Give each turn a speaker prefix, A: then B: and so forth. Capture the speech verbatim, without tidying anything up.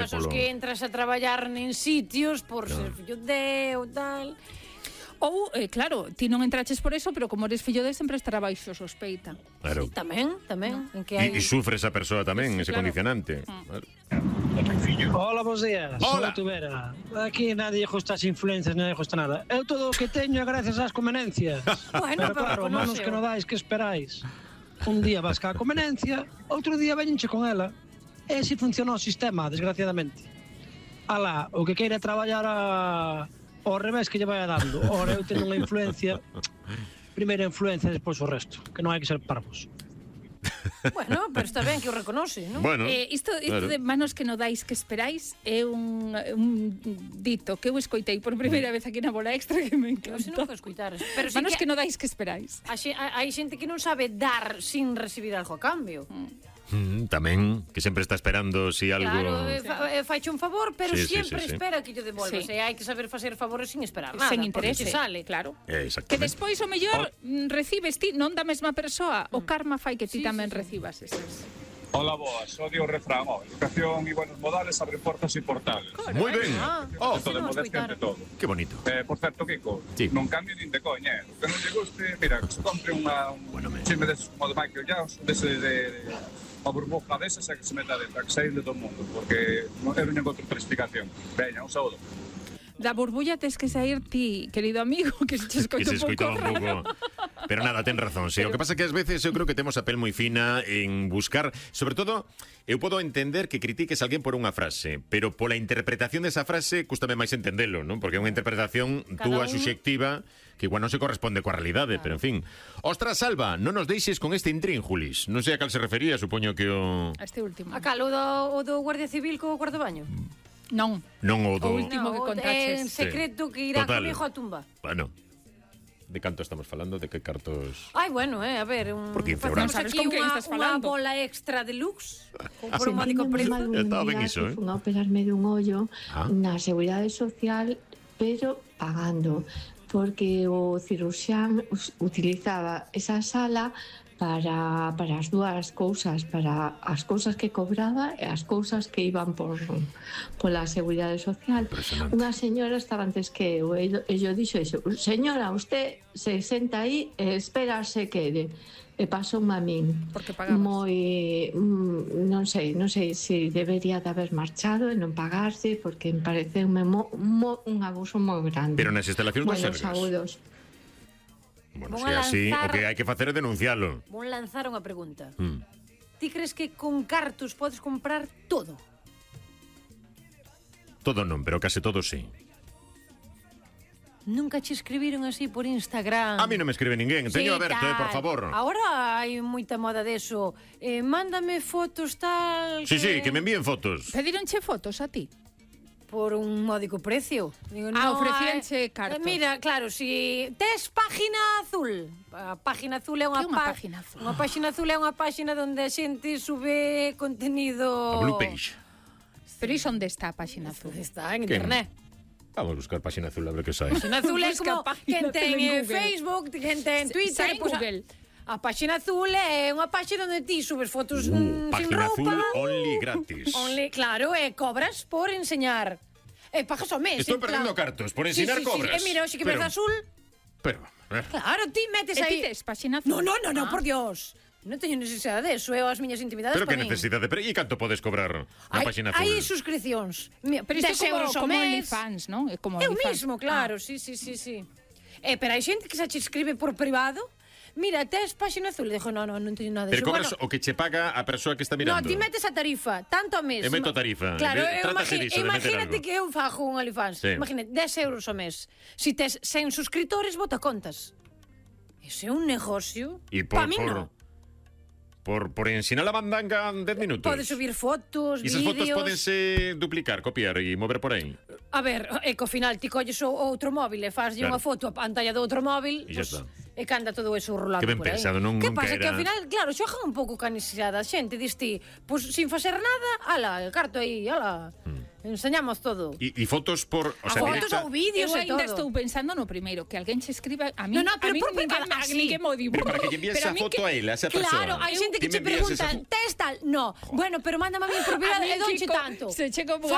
A: Casos que entras a traballar en sitios por ser fillo de ou tal.
B: Ou, eh, claro, ti non entraches por eso, pero como eres fillo de sempre estará baixo sospeita.
C: Claro.
A: Sí, tamén, tamén.
C: No.
A: En que hai...
C: E sufre esa persoa tamén,
B: sí,
C: ese
B: claro.
C: condicionante.
B: Mm.
C: Claro.
D: Hola, bons días.
C: Hola.
D: Soy Tubera. Aquí nadie gusta as influencias, nadie gusta nada. Eu todo o que teño é gracias ás convenencias.
A: Bueno,
D: pero claro,
A: pero
D: manos que non dais, que esperáis. Un día vas ca convenencia, outro día veñenche con ela. E así funciona o sistema, desgraciadamente. Alá, o que queira traballar a... ao revés que lle vai dando. Ora, eu teño unha influencia, primeira influencia, despois o resto, que non hai que ser parvos.
A: Bueno, pero está ben que o reconoce, non?
C: Bueno,
B: Eh, isto isto
C: claro.
B: de manos que non dais que esperáis é un, un dito que eu escoitei por primeira vez aquí na Bola Extra que me
A: Eu se non
B: encanta.
A: que escutar. Pero sí
B: Manos
A: que,
B: que non dais que esperáis.
A: a xe- a- hai xente que non sabe dar sin recibir algo a cambio.
C: Mm, tamén, que sempre está esperando si algo...
A: Claro, eh, fa, eh, faiche un favor, pero
C: Sí, sí,
A: sempre
C: sí, sí.
A: espera que lle devolvas.
B: Sí.
A: E hai que saber facer favores sin esperar nada.
B: Sen
A: porque
B: interese,
A: che sale.
B: claro.
C: Eh,
B: Que
C: exactamente.
B: despois o mellor mm, recibes ti non da mesma persoa, o karma fai que ti
A: Sí,
B: tamén
A: sí, sí.
B: recibas esas.
E: Hola, boas. Odio o refrán. Oh, educación e buenos modales abren portas e portales.
C: Moi ben.
A: Ah,
C: Oh,
A: sí,
E: Todo de
A: non
E: modestia
A: escoitaron.
E: ante todo.
C: que bonito.
E: Eh, por certo, Kiko,
C: Sí.
E: non cambie nin de coña, eh. O que non lle guste, mira, que se compre unha, un
C: Bueno, me-
E: chisme deses como de Michael Jackson, dese de, de a burbuja desas e que se meta dentro, a que saír de todo o mundo, porque non eu non encontro outra explicación. Veña, un saúdo.
B: Da burbulla tes que sair ti, querido amigo, que se che
C: Que
B: escoita
C: se
B: un pouco
C: escoitaba un
B: raro.
C: pouco. Pero nada, ten razón, sí. O que pasa que ás veces eu creo que temos a pel moi fina en buscar, sobre todo, eu podo entender que critiques a alguén por unha frase, pero pola interpretación desa frase cústame máis entendelo, non? Porque é unha interpretación
A: Cada
C: túa
A: un-
C: subxectiva que igual non se corresponde coa realidade, pero en fin. Ostras, Salva, non nos deixes con este intrínjulis. Non sei a cal se refería, supoño que o...
B: A este último.
A: A cal, o do, o do Guardia Civil co cuarto baño?
B: Non.
C: Non o do...
B: O último que
A: o-
B: contaches.
A: É en secreto que irá
C: Total.
A: comigo á tumba.
C: Bueno, de canto estamos falando? De que cartos...
A: Ai, bueno, eh, a ver, un...
C: Por quince
A: facemos
C: euros.
B: Non sabes
A: aquí
B: con quen
A: unha,
B: estás
A: unha
B: falando.
A: bola extra deluxe por un
C: Ah,
A: módico
F: Sentindo moi
A: precio.
F: mal un
C: Estaba ben
F: día
C: iso,
F: que
C: eh?
F: fun a operarme dun ollo
C: Ah.
F: na Seguridade Social, pero pagando, porque o cirurxián us- utilizaba esa sala para, para as dúas cousas, para as cousas que cobraba e as cousas que iban por pola Seguridade Social.
C: Impresionante.
F: Unha señora estaba antes que eu, e yo dixo iso, señora, usted se senta aí e espera se quede. E pasou a min.
B: Porque pagabas.
F: Moi, mm, non sei, non sei se debería de haber marchado e non pagarse, porque me pareceume mo, mo, un abuso moi grande.
C: Pero nas instalacións do
F: bueno,
C: Sergas.
F: saúdos.
C: Bueno,
A: Vou
C: se
A: a
C: así, o
A: lanzar-
C: que hai que facer é denuncialo.
A: Vou lanzar unha pregunta.
C: Mm.
A: Ti crees que con cartos podes comprar todo?
C: Todo non, pero case todo sí.
A: Nunca che escribiron así por Instagram?
C: A mí non me escribe ninguén, teño
A: Sí,
C: aberto, eh, por
A: tal.
C: favor.
A: Ahora hai moita moda deso. Eh, mándame fotos tal...
C: Sí, sí, que me envíen fotos.
B: Pedironche fotos a ti?
A: Por un módico precio. Digo,
B: Ah,
A: no,
B: ofrecíanche
A: eh,
B: cartos.
A: eh, Mira, claro, si tes página azul. A página azul é unha
B: Que é unha
A: pá-
B: página azul?
A: Unha página azul é unha página onde a xente sube contenido.
C: A Blue Page.
B: Pero iso onde está a páxina azul?
A: Está en
C: Que-
A: internet.
C: Vamos a buscar página azul a ver que sai.
A: Página azul é
B: Busca
A: como
B: página
A: quen ten
B: azul en
A: eh,
B: Google.
A: Facebook, quen ten Twitter,
B: Sai en
A: pois a-
B: Google.
A: A página azul é unha página onde ti subes fotos
C: Uh,
A: mm, sin
C: página azul
A: roupa.
C: only gratis.
A: Only, claro, e cobras por enseñar. E pagas ao mes.
C: Estoy
A: en plan-
C: perdiendo cartos, por ensinar
A: sí, sí,
C: cobras.
A: Sí. E mira, hoxe que
C: Pero-
A: ves azul.
C: Pero, a ver.
A: Claro, ti metes
B: E
A: aí.
B: ti tes páxina azul?
A: No, no, no,
B: Ah.
A: no, por Dios. Non teño necesidade de eso, é as miñas intimidades
C: Pero
A: para
C: que
A: min.
C: necesidade, pero e canto podes cobrar na
A: Hai-
C: página azul?
A: Hai suscripcións. Mira,
B: Pero isto é
A: dez
B: como,
A: euros ao
B: como
A: mes.
B: OnlyFans, non? É como
A: Eu
B: OnlyFans.
A: mismo, claro, sí, sí, sí, sí. Eh, pero hai xente que se che escribe por privado. Mira, tes páxina azul. E dixo, no, no, non teño nada de
C: Pero
A: eso.
C: cobras
A: Bueno,
C: o que che paga a persoa que está
A: no,
C: mirando.
A: ti metes a tarifa, tanto ao mes.
C: E meto a tarifa.
A: Claro,
C: De-
A: eu
C: trátase
A: imagi-
C: diso, de meter
A: imagínate
C: algo.
A: que eu fajo un OnlyFans.
C: Sí.
A: Imagínate, dez euros ao mes. Si tes cen suscriptores, bota contas. Ese é un negocio.
C: E por,
A: Pa min
C: por,
A: no.
C: por, por ensinar a bandanga en dez minutos.
A: Podes subir fotos,
C: E esas fotos
A: vídeos.
C: podense duplicar, copiar e mover por aí.
A: A ver, é que ao final ti colles o outro móvil e faslle
C: Claro.
A: unha foto a pantalla do outro móvil,
C: E xa
A: pues,
C: está.
A: e canta todo eso rolado
C: Que ben
A: por aí.
C: pensado, non-
A: Que
C: nunca
A: pasa? Que
C: era-
A: ao final, claro, xogan un pouco ca necesidade da xente, dis ti, pues, sin facer nada, ala, el carto aí, ala, enseñamos todo.
C: E, e fotos por... O
A: A
C: sea,
A: fotos
C: directa-
A: ou vídeos
B: Eu
A: e
B: ainda
A: todo.
B: estou pensando no primeiro, que alguén che escriba a mí,
A: No, no, pero
B: a mí
A: por
B: ninguén,
A: privado,
B: a,
A: así.
B: ninguén mo di.
C: Pero para que lle envíes
B: Pero
C: esa
B: mí
C: foto
B: que-
C: a ela, a esa persoa.
A: Claro, hai xente que
C: Ti
A: che
C: me envías esa
A: preguntan,
C: fo-
A: tes tal? No. Bueno, pero mándame a mí por privado
B: A mí,
A: e donche
B: Kiko,
A: tanto.
B: se che como